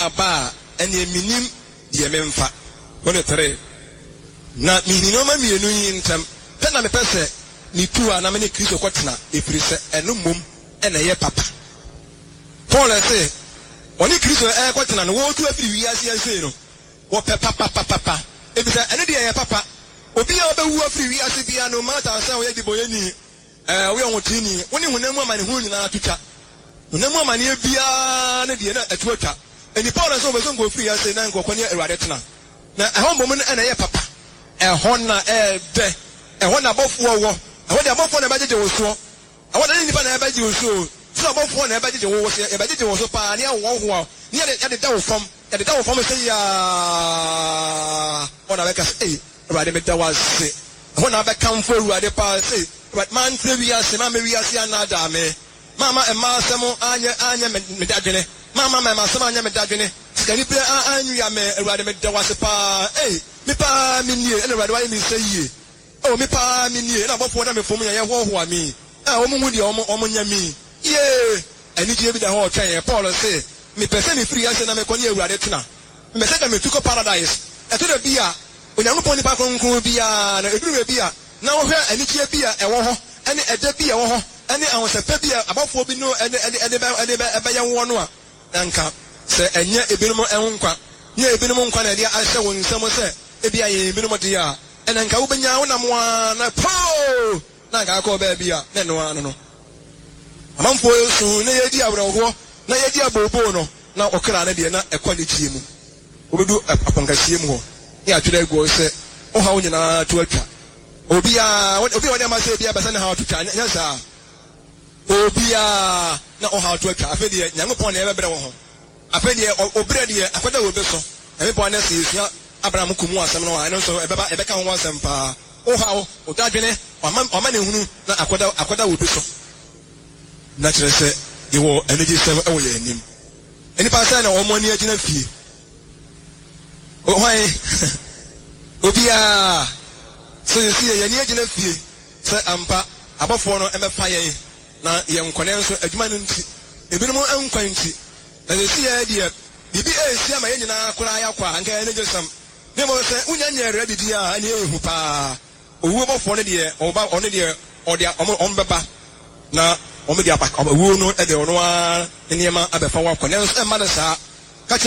aba a, ɛnneɛ mennim deɛ memfa. 23, Na mehini nnoɔma mmienu yi ntam pɛ na mepɛ sɛ metu a na me ne Kristo kɔtena, ɛfiri sɛ ɛno mmom na ɛyɛ papa. Paul se ɔne Kristo rekɔtena no, wɔretu afiri wiase ha sei no, wɔpɛ papapapapa, ɛfiri sɛ ɛno deɛ ɛyɛ papa. Obi a ɔbɛwu afiri wiase biara, no matter sɛ ɔyɛ debɔneyɛni, Ɛɛ, woyɛ ɔhoteeni, wo ne honam mu amanehunu nyinaa to twa. Honam mu amaneɛ biara no deɛ, na ɛto atwa. Enti Paulo sɛ wɔbɛsɔ nkurɔfo firi ase na nkurɔfoɔ ne Awurade tena. Na ɛhɔ mmom no na ɛyɛ papa. Ɛhɔ na ɛyɛ dɛ. Ɛhɔ na abɔfoɔ wɔ. Ɛhɔ deɛ abɔfoɔ na ɛbɛgyegye wo soɔ. Ɛhɔ deɛ ɛnyɛ nnipa na ɛbɛgye wo so o. Soro abɔfoɔ na ɛbɛgyegye wo so. Yɛbɛgyegye wo so paa na yɛahoahoa wo, na yɛadeda wo fam. Yɛdeda wo fam sei ara, hɔ na wobɛka sɛ, Ei, Awurade, meda wo ase. Ɛhɔ na wobɛkamfo Awurade paa sɛ, Awurade, mantena wiase, mamma wiase annaadaa me, mamma mmaa asɛm anyɛ anyɛ me dadwene, mamma mmarimasɛm anyɛ me dadwene, sikanibere anwia me. Awurade, meda wo ase paa. Ei, me paa menie, ɛna Awurade wayɛ me nsa yie. Oh, me paa menie, ɛna abɔfoɔ da me fam yɛ yɛhoahoa me yi, a wɔn nhu deɛ wɔn nyɛ me yi. Yee! Anigyeɛ bi da hɔ retwɛn yɛn. Paul se, Mepɛ sɛ mefiri ase na mekɔ ne Awurade tena. Mepɛ sɛ nka metu kɔ Paradise. Ɛtɔ da bi a, Onyankopɔn nipa kronkron biara no, ɛduru baabi a, na wohwɛ anigyeɛ bi a ɛwɔ hɔ, ne ɛdɛ bi a ɛwɔ hɔ, ne ahosɛpɛ bi a abɔfoɔ bi no de bɛyɛ woɔ no a, na nka sɛ ɛnyɛ ebinom ho nkwa, nyɛ ebinom nkwa na ɛde ahyɛ wo nsam sɛ ebia yɛn ebinom deɛ a, ɛnna nka wobɛnya, wonam ara na poo! Na anka akɔ baabi a na ɛno ara no no. Amanfoɔ resu na yɛredi awerɛhoɔ na yɛredi abooboo no, na ɔkra no deɛ na ɛkɔ anigyeɛ mu. Wobɛdu aponkɛseɛ mu hɔ na yɛatwerɛ agu hɔ sɛ, Wo haw nyinaa to atwa. Obiara, obi a wɔde ama sɛ ebia ɛbɛsɛ ne haw to twa, nyɛ saa. Obiara na wo haw to atwa. Afei deɛ Nyankopɔn na ɛbɛbrɛ wo ho. Afei deɛ ɔbrɛ deɛ akɔda wɔ bi so. Nyame boa na sɛ yɛsua Abraham kum ho asɛm no a, ɛno nso ɛbɛba, yɛbɛka ho asɛm paa. Wo haw, wo dadwene, w'amanehunu na akɔda, akɔda wɔ bi so. Na kyerɛ sɛ yɛwɔ anigyesɛm wɔ yɛn anim. Nnipa sɛn na wɔn ani agyina fie? Hwan? Obiara. So yɛsi yɛn ani agyina fie sɛ ampa abɔfoɔ no mmɛfa yɛn na yɛnkɔ? Nanso adwuma no nti, ebinom nkwa nti, Na seesei ara deɛ, biribi resi ama yɛn nyinaa koraa yɛakɔ a, anka ɛyɛ anigyesɛm. Na mmom sɛ wonnya nyɛɛ ready deɛ a, ɛnneɛ ɛyɛ hu pa ara. Owuo bɔfoɔ no deɛ, ɔba, ɔno deɛ, ɔde wɔn, wɔn bɛba, na wɔde aba, owuo no de ɔno ara ne nneɛma abɛfa wo akɔ. Nanso ɛmma no saa.